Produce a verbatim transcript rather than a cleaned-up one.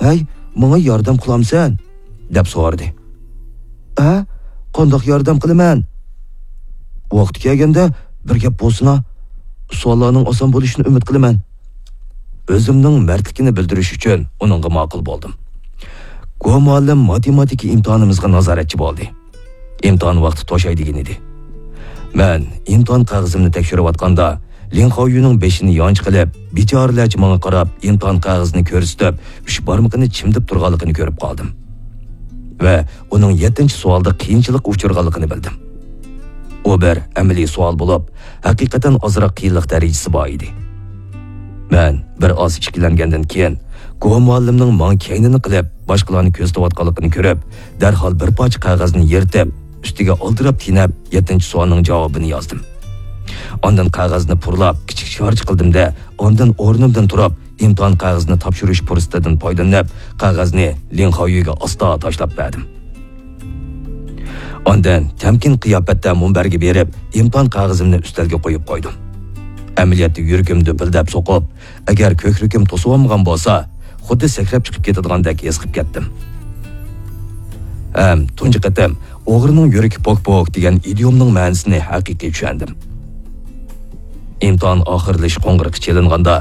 «ھەي، ماڭا ياردەم قىلامسەن؟» دەپ سورىدى. «ھە؟ قانداق ياردەم قىلىمەن؟» «ۋاقتى كەلگەندە بىر گەپ بولسىنا، سوئاللارنىڭ ئاسان بولۇشىنى ئۈمىد قىلىمەن.» ئۆزۈمنىڭ مەردلىكىنى بىلدۈرۈش ئۈچۈن ئۇنىڭغا ماقۇل بولدۇم. گو مۇئەللىم ماتېماتىكا ئىمتىھانىمىزغا نازارەتچى بولدى. ئىمتىھان ۋاقتى توشاي دېگەن ئىدى. مەن ئىمتىھان قەغىزىمنى تەكشۈرۈۋاتقاندا، لىن خاۋيۈنىڭ بېشىنى يانچۇق قىلىپ، بىچارىلەرچە ماڭا قاراپ ئىمتىھان قەغىزىنى كۆرسىتىپ، ئۈچ بارمىقىنى چىمدىپ تۇرغانلىقىنى كۆرۈپ قالدىم. ۋە ئۇنىڭ يەتتىنچى سوئالدا قىيىنچىلىققا ئۇچرىغانلىقىنى بىلدىم. ئۇ بىر ئەمەلىي سوئال بولۇپ، ھەقىقەتەن ئازراق قىيىنلىق دەرىجىسى بار ئىدى. مەن بىر ئاز ئىككىلەنگەندىن كېيىن، گو مۇئەللىمنىڭ ماڭا كەينىنى قىلىپ، باشقىلارنى كۆزىتىۋاتقانلىقىنى كۆرۈپ، دەرھال بىر پارچە قەغەزنى يىرتىپ، ئۈستىگە ئالدىراپ تېنەپ، يەتتىنچى سوئالنىڭ جاۋابىنى يازدىم. ئاندىن قەغەزنى پۇرلاپ، كىچىك شارچە قىلدىم-دە، ئاندىن ئورنۇمدىن تۇرۇپ، ئىمتىھان قەغىزىنى تاپشۇرۇش پۇرسىتىدىن پايدىلىنىپ، قەغەزنى لىن خاۋيۈگە ئاستا تاشلاپ بەردىم. ئاندىن تەمكىن قىياپەتتە مۇنبەرگە بېرىپ، ئىمتىھان قەغىزىمنى ئۈستەلگە قويۇپ قويدۇم. ئەمەلىيەتتە يۈرىكىم دۈپۈلدەپ سوقۇپ، ئەگەر كۆكرىكىم توسۇۋالمىغان بولسا، خۇددى سەكرەپ چىقىپ كېتىدىغاندەك ھېس قىلىپ كەتتىم. ھەم تۇنجى قېتىم «ئوغرىنىڭ يۈرىكى پوك-پوك» دېگەن ئىدىيومنىڭ مەنىسىنى ھەقىقىي چۈشەندىم. ئىمتىھان ئاخىرلىشىش قوڭغۇرىقى چېلىنغاندا،